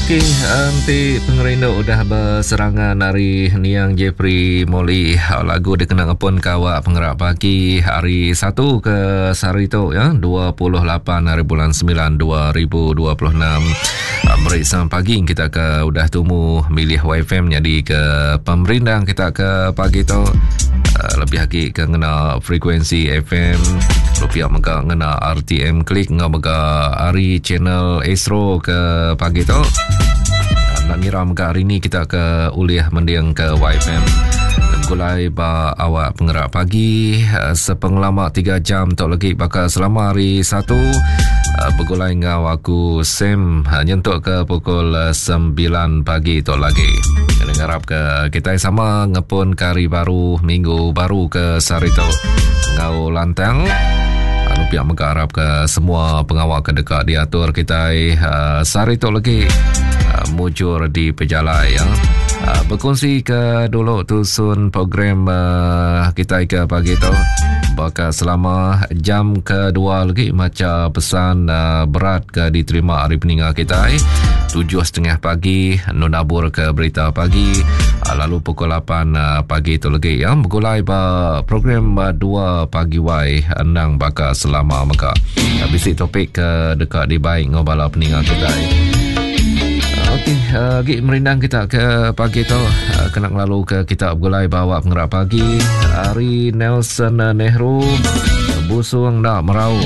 Okey, enti pengerindu udah beserangan ari niang Jeffrey Molly, lagu dikena ngepun ke awak pengerak pagi hari Satu ke sehari tu ya, 28 hari bulan 9 2026. Meri selamat pagi kita ke udah tumu milih YFM jadi ke pemerindang kita ke pagi tu. Lebih agi ke ngena frekuensi FM, rupiah mega ngena RTM klik ngau mega ari channel Astro ke pagi tu. Nak ngira mega hari ni kita ke ulih mending ke YFM. Gulai ba awak pengerak pagi eh, sepengelama 3 jam tu lagi baka selama hari Satu eh, begulai enggau aku Sam eh, nyentuk ke pukul 9 pagi tu lagi. Ngarap ke kita sama ngepun ke hari baru minggu baru ke sehari tu enggau lantang. Lalu pihak mega arap ke semua pengawa ke deka diatur kitai uh, sehari tu lagi uh, mujur di pejalai ya. Uh, berkongsi ke dulu tusun program uh, kitai ke pagi tu. Baka selama jam kedua lagi maca pesan uh, berat ke diterima hari peninga kitai. 7.30 pagi nunabur ke berita pagi uh, lalu pukul 8 uh, pagi tu lagi ya bergulai ba program uh, 2 pagi wai endang baka selama mega. Bisi topik ke deka dibai enggau bala peninga kitai. Okey, agi merindang kita ke pagi tu kena ngelalu ke kita begulai bawa pengerak pagi hari Nelson Nehru busung nak merau.